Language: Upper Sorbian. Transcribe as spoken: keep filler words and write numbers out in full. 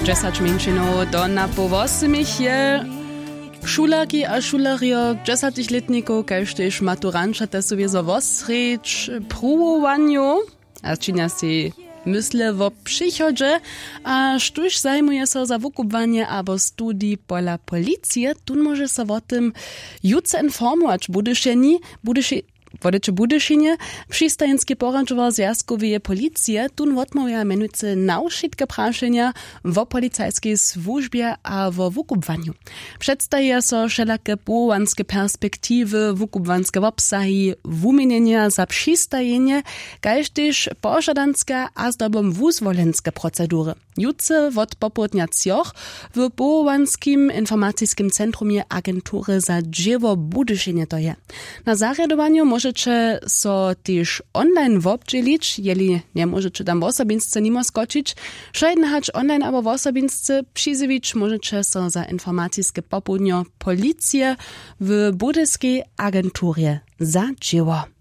Dźesać mjeńšinow do na poł wosmich je. Šulerki a šulerjo, dźesaćich lětnikow kaž tež maturanća te su wězo wosrjedź pruwowanjow a činja sej mysle wo přichodźe. A štóž zajimuje so za wukubłanje abo studij pola policije, tón móže so wo tym jutře informować w budyšenji. Budyši- wodeće budyšinje. Přistajenski poradźowar zwjazkoweje policije tón wotmołwja mjenujcy na wšitke prašenja wo policajskej słužbje a wo wukubłanju. Předstajeja so wšelake powołanske perspektiwy, wukubłanske wobsahi, wuměnjenja za přistajenje, kaž tež požadanske a zdobom wuzwolenske procedury. Jutře wot popołdnja třoch w powołanskim informaciskim centrumje agentury za dźěło w budyšinje to je. Na zarjadowanju móžeće so tež online wobdźělić, jeli njemóžeće tam wosobinsce nimo skočić. Wšojedne hač online abo wosobinsce přizjewić móžeće so za informaciske popołdnjo policije w budyskej agenturje za dźěło.